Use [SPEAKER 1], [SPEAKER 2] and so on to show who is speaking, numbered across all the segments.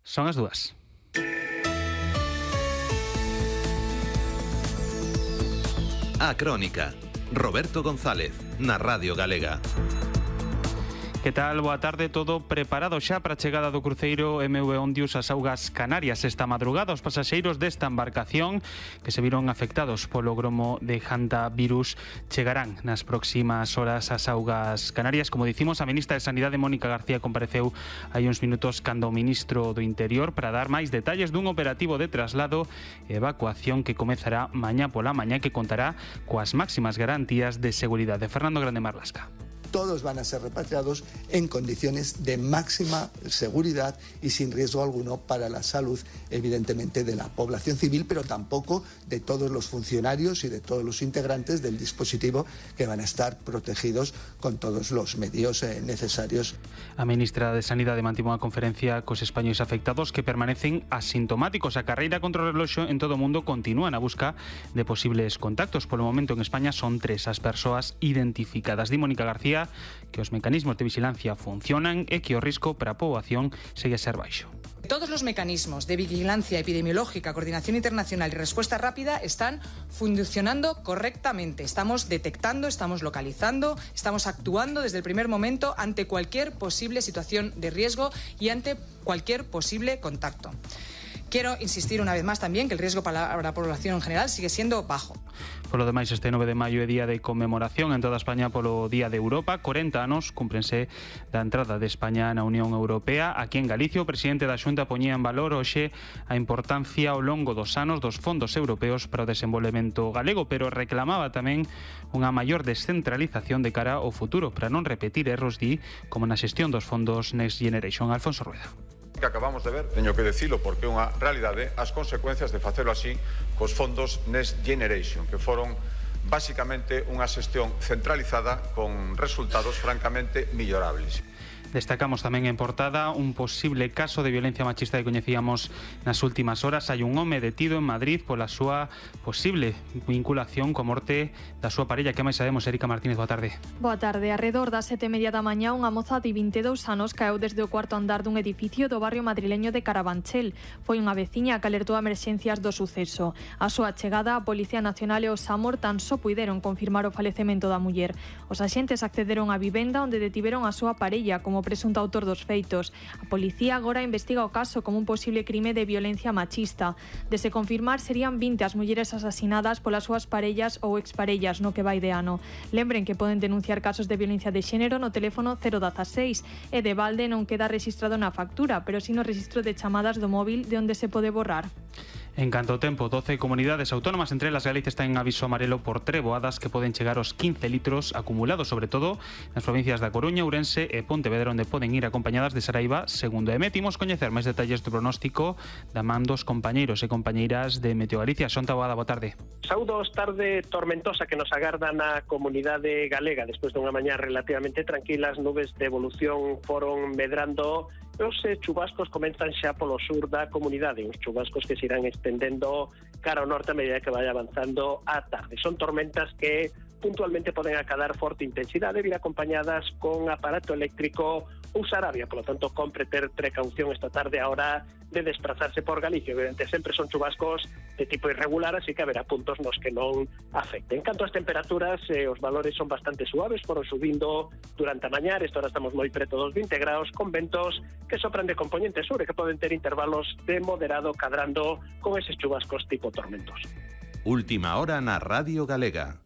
[SPEAKER 1] Son as 2.
[SPEAKER 2] A Crónica. Roberto González, na Radio Galega.
[SPEAKER 1] Que tal? Boa tarde, todo preparado xa para a chegada do cruceiro MV Ondius ás augas Canarias esta madrugada. Os pasaxeiros desta embarcación que se viron afectados polo gromo de hantavirus chegarán nas próximas horas ás augas Canarias. Como dicimos, a ministra de Sanidade Mónica García compareceu hai uns minutos cando o ministro do Interior para dar máis detalles dun operativo de traslado e evacuación que comezará mañá pola mañá, que contará coas máximas garantías de seguridade. Fernando Grande Marlasca.
[SPEAKER 3] Todos van a ser repatriados en condiciones de máxima seguridad y sin riesgo alguno para la salud, evidentemente, de la población civil, pero tampoco de todos los funcionarios y de todos los integrantes del dispositivo, que van a estar protegidos con todos los medios necesarios.
[SPEAKER 1] A ministra de Sanidade mantivo unha conferencia cos españois afectados que permanecen asintomáticos. A carreira contra o reloxo en todo o mundo continúa na busca de posibles contactos. Polo momento en España son 3 as persoas identificadas. Di Mónica García que os mecanismos de vigilancia funcionan e que o risco para a poboación segue a ser baixo.
[SPEAKER 4] Todos los mecanismos de vigilancia epidemiológica, coordinación internacional y respuesta rápida están funcionando correctamente. Estamos detectando, estamos localizando, estamos actuando desde el primer momento ante cualquier posible situación de riesgo y ante cualquier posible contacto. Quiero insistir una vez más también que el riesgo para la población en general sigue siendo bajo.
[SPEAKER 1] Por lo demais, este 9 de maio é día de conmemoración en toda España polo Día de Europa. 40 anos cúmprense da entrada de España na Unión Europea. Aquí en Galicia, o presidente da Xunta poñía en valor hoxe a importancia ao longo dos anos dos fondos europeos para o desenvolvemento galego, pero reclamaba tamén unha maior descentralización de cara ao futuro para non repetir erros como na xestión dos fondos Next Generation. Alfonso Rueda.
[SPEAKER 5] Que acabamos de ver, teño que decilo porque é unha realidade, as consecuencias de facelo así cos fondos Next Generation, que foron basicamente unha xestión centralizada con resultados francamente mellorables.
[SPEAKER 1] Destacamos tamén en portada un posible caso de violencia machista que coñecíamos nas últimas horas. Hai un home detido en Madrid pola súa posible vinculación coa morte da súa parella. Que máis sabemos, Erika Martínez? Boa tarde.
[SPEAKER 6] Boa tarde. Arredor das 7:30 da mañá, unha moza de 22 anos caeu desde o cuarto andar dun edificio do barrio madrileño de Carabanchel. Foi unha veciña que alertou a emerxencias do suceso. A súa chegada, a Policía Nacional e o SAMUR tan só puideron confirmar o falecemento da muller. Os axentes accederon á vivenda onde detiveron a súa parella como presunto autor dos feitos. A policía agora investiga o caso como un posible crime de violencia machista. De se confirmar, serían 20 as mulleres asasinadas polas súas parellas ou exparellas no que vai de ano. Lembren que poden denunciar casos de violencia de xénero no teléfono 016 e de balde non queda registrado na factura, pero si no registro de chamadas do móvil de onde se pode borrar.
[SPEAKER 1] En canto ao tempo, 12 comunidades autónomas, entre elas Galicia, están en aviso amarelo por treboadas que poden chegar aos 15 litros acumulados, sobre todo nas provincias da Coruña, Ourense e Pontevedra, onde poden ir acompañadas de Saraiva, segundo EMET. Imos coñecer máis detalles do pronóstico da man dos compañeiros e compañeiras de Meteo Galicia. Xonta Boada, boa tarde.
[SPEAKER 7] Saúdos, tarde tormentosa que nos agarda na comunidade galega. Despois dunha mañá relativamente tranquila, as nubes de evolución foron medrando. Os chubascos comenzan xa polo sur da comunidade, uns chubascos que se irán estendendo cara ao norte a medida que vai avanzando a tarde. Son tormentas que puntualmente poden acadar forte intensidade, vir acompañadas con aparato eléctrico ou sarabia, polo tanto, compre ter precaución esta tarde a hora de desplazarse por Galicia. Evidente, sempre son chubascos de tipo irregular, así que haberá puntos nos que non afecten. En canto ás temperaturas, os valores son bastante suaves, foron subindo durante a mañá, esta hora estamos moi preto dos 20 graus, con ventos que sopran de componente sur e que poden ter intervalos de moderado cadrando con eses chubascos tipo tormentos.
[SPEAKER 2] Última hora na Radio Galega.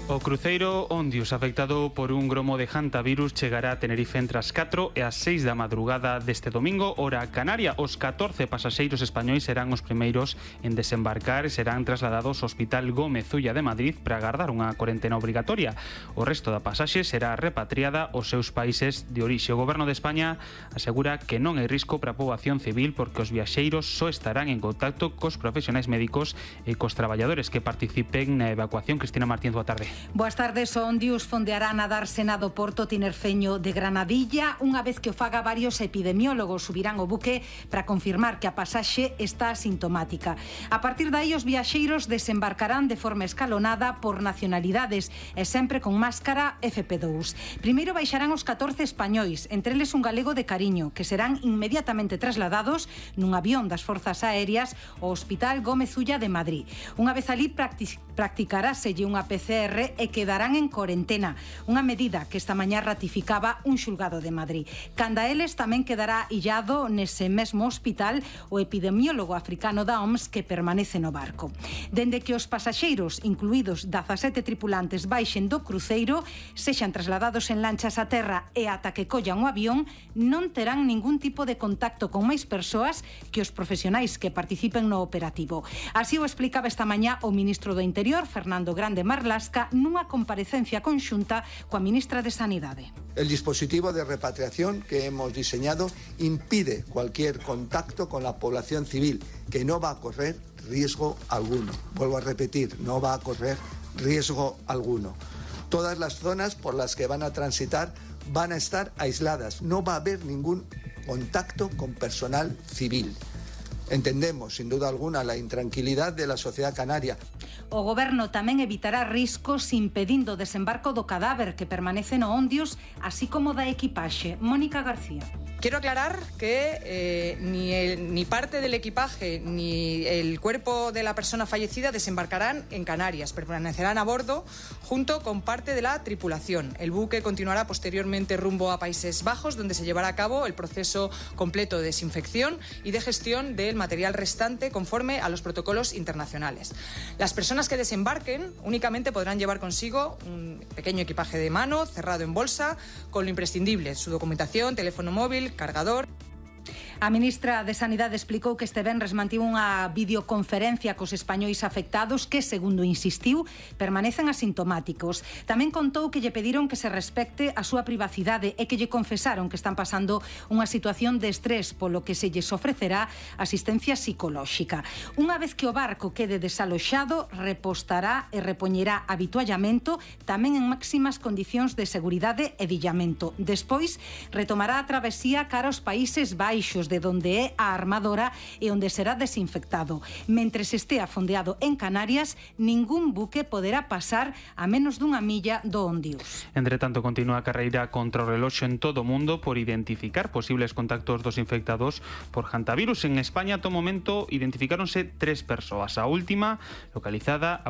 [SPEAKER 1] O cruceiro Ondius, afectado por un gromo de hantavirus, chegará a Tenerife entre as 4 e as 6 da madrugada deste domingo, hora canaria. Os 14 pasaxeiros españois serán os primeiros en desembarcar e serán trasladados ao Hospital Gómez Ulla de Madrid para agardar unha cuarentena obrigatoria. O resto da pasaxe será repatriada aos seus países de orixe. O Goberno de España asegura que non hai risco para a poboación civil porque os viaxeiros só estarán en contacto cos profesionais médicos e cos traballadores que participen na evacuación. Cristina Martínez, boa tarde.
[SPEAKER 8] Boas tardes, o Ondius fondeará na dársena do Porto Tinerfeño de Granadilla. Unha vez que o faga, varios epidemiólogos subirán o buque para confirmar que a pasaxe está asintomática. A partir de aí, os viaxeiros desembarcarán de forma escalonada por nacionalidades e sempre con máscara FP2. Primeiro baixarán os 14 españois, entre eles un galego de Cariño, que serán inmediatamente trasladados nun avión das Forzas Aéreas ao Hospital Gómez Ulla de Madrid. Unha vez ali practicaráselle unha PCR e quedarán en corentena, unha medida que esta mañá ratificaba un xulgado de Madrid. Canda eles tamén quedará illado nese mesmo hospital o epidemiólogo africano da OMS que permanece no barco. Dende que os pasaxeiros, incluídos 17 tripulantes, baixen do cruceiro, sexan trasladados en lanchas a terra e ata que collan o avión, non terán ningún tipo de contacto con máis persoas que os profesionais que participen no operativo. Así o explicaba esta mañá o ministro do Interior, Fernando Grande Marlasca, nunha comparecencia conxunta coa ministra de Sanidade.
[SPEAKER 3] El dispositivo de repatriación que hemos diseñado impide cualquier contacto con la población civil, que no va a correr riesgo alguno. Vuelvo a repetir, no va a correr riesgo alguno. Todas las zonas por las que van a transitar van a estar aisladas. No va a haber ningún contacto con personal civil. Entendemos, sin duda alguna, la intranquilidad de la sociedad canaria.
[SPEAKER 8] O Goberno tamén evitará riscos impedindo o desembarco do cadáver que permanece no Ondius, así como da equipaxe. Mónica García.
[SPEAKER 4] Quiero aclarar que ni parte del equipaje ni el cuerpo de la persona fallecida desembarcarán en Canarias, permanecerán a bordo junto con parte de la tripulación. El buque continuará posteriormente rumbo a Países Bajos, donde se llevará a cabo el proceso completo de desinfección y de gestión del material restante conforme a los protocolos internacionales. Las personas que desembarquen únicamente podrán llevar consigo un pequeño equipaje de mano cerrado en bolsa con lo imprescindible, su documentación, teléfono móvil, cargador.
[SPEAKER 8] A ministra de Sanidade explicou que este venres mantivo unha videoconferencia cos españois afectados que, segundo insistiu, permanecen asintomáticos. Tamén contou que lle pediron que se respecte a súa privacidade e que lle confesaron que están pasando unha situación de estrés, polo que se lles ofrecerá asistencia psicolóxica. Unha vez que o barco quede desaloxado, repostará e repoñerá habituallamento, tamén en máximas condicións de seguridade e de illamento. Despois, retomará a travesía cara aos Países Baixos, de donde é a armadora e onde será desinfectado. Mentres estea fondeado en Canarias, ningún buque poderá pasar a menos dunha milla do Ondius.
[SPEAKER 1] Entre tanto, continúa a carreira contra o reloxo en todo o mundo por identificar posibles contactos dos infectados por hantavirus. En España, ata o momento, identificáronse 3 persoas. A última localizada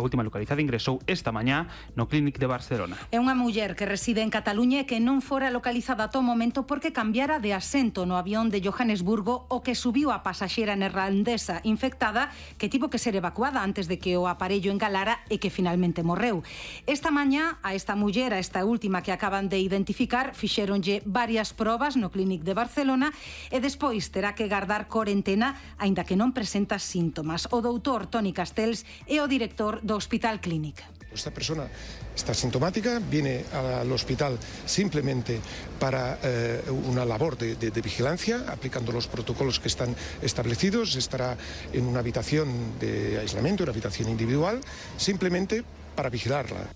[SPEAKER 1] ingresou esta mañá no Clínic de Barcelona.
[SPEAKER 8] É unha muller que reside en Cataluña e que non fora localizada ata o momento porque cambiara de asento no avión de Johannesburgo, o que subiu a pasaxeira neerlandesa infectada que tivo que ser evacuada antes de que o aparello engalara e que finalmente morreu. Esta mañá, a esta muller, a esta última que acaban de identificar, fixéronlle varias probas no Clínic de Barcelona e despois terá que gardar corentena aínda que non presenta síntomas. O doutor Toni Castells é o director do Hospital Clínic.
[SPEAKER 9] Esta persona está sintomática, viene al hospital simplemente para una labor de vigilancia, aplicando los protocolos que están establecidos. Estará en una habitación de aislamiento, una habitación individual, simplemente para vigilarla.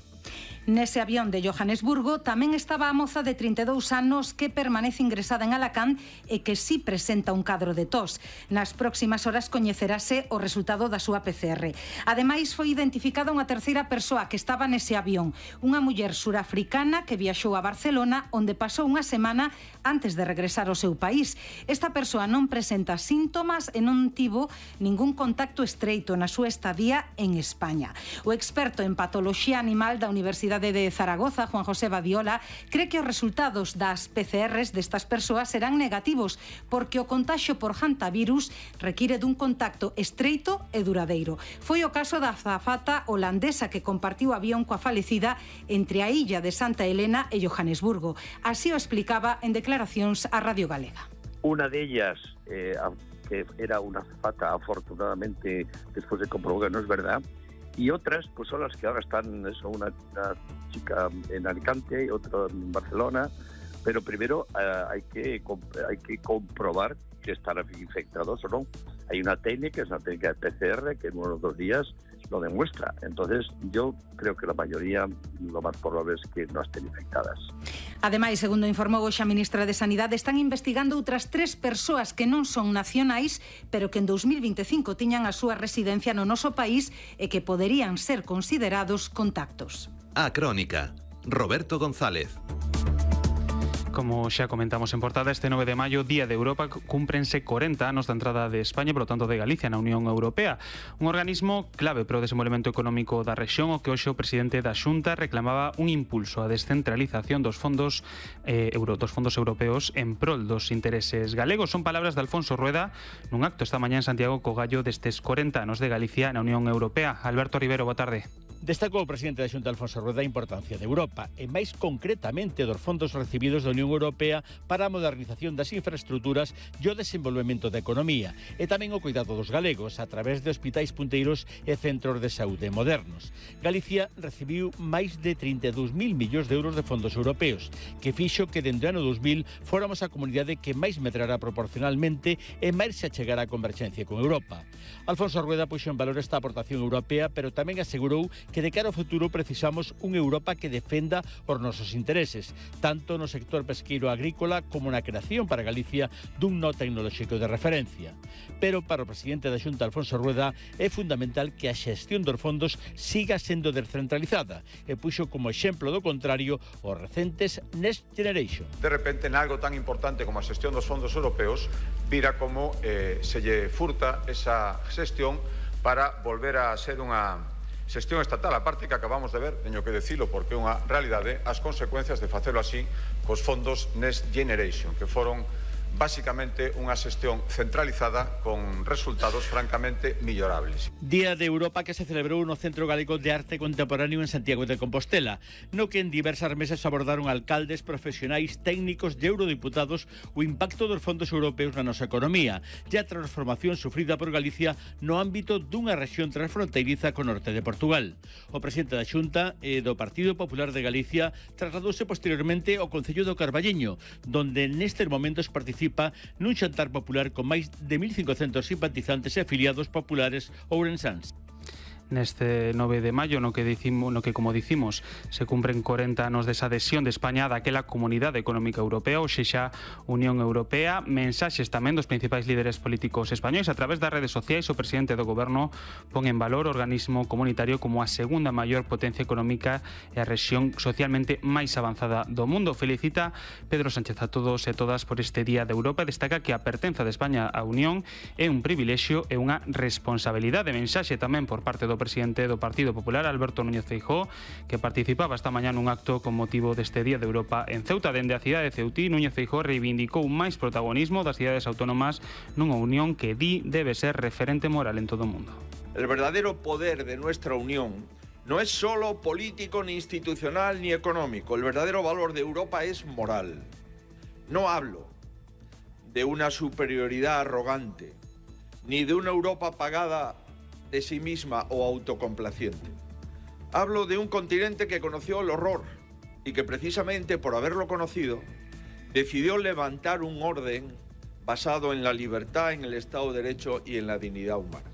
[SPEAKER 8] Nese avión de Johannesburgo tamén estaba a moza de 32 anos que permanece ingresada en Alacant e que sí presenta un cadro de tos. Nas próximas horas coñecerase o resultado da súa PCR. Ademais, foi identificada unha terceira persoa que estaba nese avión, unha muller surafricana que viaxou a Barcelona, onde pasou unha semana antes de regresar ao seu país. Esta persoa non presenta síntomas e non tivo ningún contacto estreito na súa estadía en España. O experto en patoloxía animal da Universidade de Zaragoza, Juan José Badiola, cree que os resultados das PCRs destas persoas serán negativos porque o contaxio por hantavirus require dun contacto estreito e duradeiro. Foi o caso da azafata holandesa que compartiu avión coa falecida entre a illa de Santa Helena e Johannesburgo. Así o explicaba en declaracións a Radio Galega.
[SPEAKER 10] Una de ellas, que era una azafata, afortunadamente después de comprobar que no es verdad, y otras pues son las que ahora están, una chica en Alicante y otra en Barcelona, pero primero hay que comprobar que están infectados o no. Hay una técnica, es una técnica de PCR, que en unos 2 días lo demuestra. Entonces, yo creo que la mayoría, lo más probable es que no estén infectadas.
[SPEAKER 8] Ademais, segundo informou hoxe a ministra de Sanidade, están investigando outras 3 persoas que non son nacionais, pero que en 2025 tiñan a súa residencia no noso país e que poderían ser considerados contactos.
[SPEAKER 2] A Crónica, Roberto González.
[SPEAKER 1] Como xa comentamos en portada, este 9 de maio, Día de Europa, cúmprense 40 anos da entrada de España, por lo tanto de Galicia, na Unión Europea. Un organismo clave para o desenvolvemento económico da rexión, o que hoxe o presidente da Xunta reclamaba un impulso á descentralización dos fondos europeos en prol dos intereses galegos. Son palabras de Alfonso Rueda nun acto esta mañá en Santiago co gallo destes 40 anos de Galicia na Unión Europea. Alberto Rivero, boa tarde.
[SPEAKER 11] Destacou o presidente da Xunta, Alfonso Rueda, a importancia de Europa e máis concretamente dos fondos recibidos da Unión Europea para a modernización das infraestructuras e o desenvolvemento da economía e tamén o cuidado dos galegos a través de hospitais punteiros e centros de saúde modernos. Galicia recibiu máis de 32.000 millóns de euros de fondos europeos, que fixo que dende o ano 2000 fóramos a comunidade que máis medrara proporcionalmente e máis se achegara a converxencia con Europa. Alfonso Rueda puxo en valor esta aportación europea, pero tamén asegurou que de cara ao futuro precisamos unha Europa que defenda os nosos intereses, tanto no sector pesqueiro agrícola como na creación para Galicia dun no tecnolóxico de referencia. Pero para o presidente da Xunta, Alfonso Rueda, é fundamental que a xestión dos fondos siga sendo descentralizada e puxo como exemplo do contrario os recentes Next Generation.
[SPEAKER 5] De repente, en algo tan importante como a xestión dos fondos europeos, vira como se lle furta esa xestión para volver a ser unha xestión estatal, a parte que acabamos de ver, teño que decilo porque é unha realidade, as consecuencias de facelo así cos fondos Next Generation, que foron basicamente unha xestión centralizada con resultados francamente mellorables.
[SPEAKER 11] Día de Europa que se celebrou no Centro Galego de Arte Contemporáneo en Santiago de Compostela, no que en diversas mesas abordaron alcaldes, profesionais, técnicos e eurodiputados o impacto dos fondos europeos na nosa economía e a transformación sufrida por Galicia no ámbito dunha rexión transfronteiriza co norte de Portugal. O presidente da Xunta e do Partido Popular de Galicia trasladouse posteriormente ao Concello do Carballiño, donde nestes momentos participa nun xantar popular con máis de 1.500 simpatizantes e afiliados populares ourensáns.
[SPEAKER 1] Neste 9 de maio, no que como dicimos, se cumpren 40 anos desa adhesión de España daquela Comunidade Económica Europea, ou sexa Unión Europea. Mensaxes tamén dos principais líderes políticos españois. A través das redes sociais, o presidente do goberno pon en valor o organismo comunitario como a segunda maior potencia económica e a rexión socialmente máis avanzada do mundo. Felicita Pedro Sánchez a todos e todas por este Día de Europa e destaca que a pertenza de España á Unión é un privilexio e unha responsabilidade. Mensaxe tamén por parte do presidente do Partido Popular, Alberto Núñez Feijóo, que participaba esta mañá nun acto con motivo deste Día de Europa en Ceuta. Dende a cidade de Ceutí, Núñez Feijóo reivindicou máis protagonismo das cidades autónomas nunha unión que di debe ser referente moral en todo o mundo.
[SPEAKER 12] El verdadero poder de nuestra unión no es solo político, ni institucional, ni económico. El verdadero valor de Europa es moral. No hablo de una superioridad arrogante, ni de una Europa pagada de sí misma o autocomplaciente. Hablo de un continente que conoció el horror y que precisamente por haberlo conocido decidió levantar un orden basado en la libertad, en el Estado de Derecho y en la dignidad humana.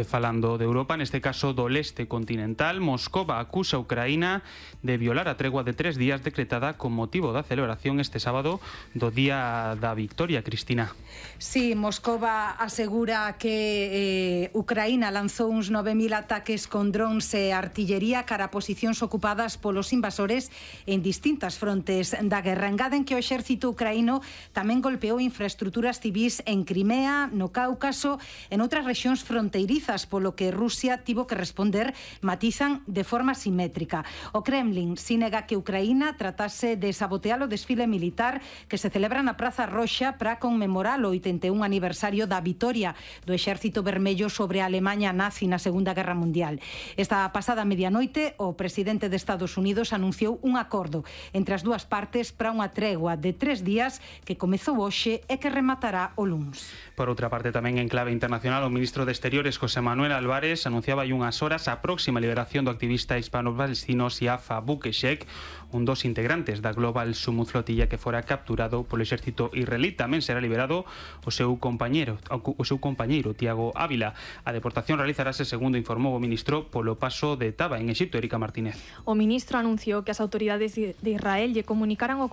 [SPEAKER 1] Falando de Europa, neste caso do leste continental, Moscova acusa a Ucraína de violar a tregua de 3 días decretada con motivo da celebración este sábado do Día da Victoria. Cristina.
[SPEAKER 8] Sí, Moscova asegura que Ucraína lanzou uns 9.000 ataques con drones e artillería cara a posicións ocupadas polos invasores en distintas frontes da guerra. Engaden que o exército ucraíno tamén golpeou infraestructuras civís en Crimea, no Cáucaso, en outras rexións fronteirizas, polo que Rusia tivo que responder, matizan, de forma simétrica. O Kremlin si nega que Ucraína tratase de sabotear o desfile militar que se celebra na Praza Roxa para conmemorar o 81 aniversario da vitoria do Exército Vermello sobre a Alemanha nazi na Segunda Guerra Mundial. Esta pasada medianoite, o presidente de Estados Unidos anunciou un acordo entre as dúas partes para unha tregua de 3 días que comezou hoxe e que rematará o luns.
[SPEAKER 1] Por outra parte, tamén en clave internacional, o ministro de Exteriores, José José Manuel Álvarez anunciaba hai unhas horas a próxima liberación do activista hispano-palestino Siafa Bukeshek, un dos integrantes da Global Summit Flotilla que fora capturado polo exército israelí. Tamén será liberado o seu compañeiro Tiago Ávila. A deportación realizarase, segundo informou o ministro, polo paso de Taba en Exipto. Erika Martínez.
[SPEAKER 6] O ministro anunciou que as autoridades de Israel lle comunicaran ao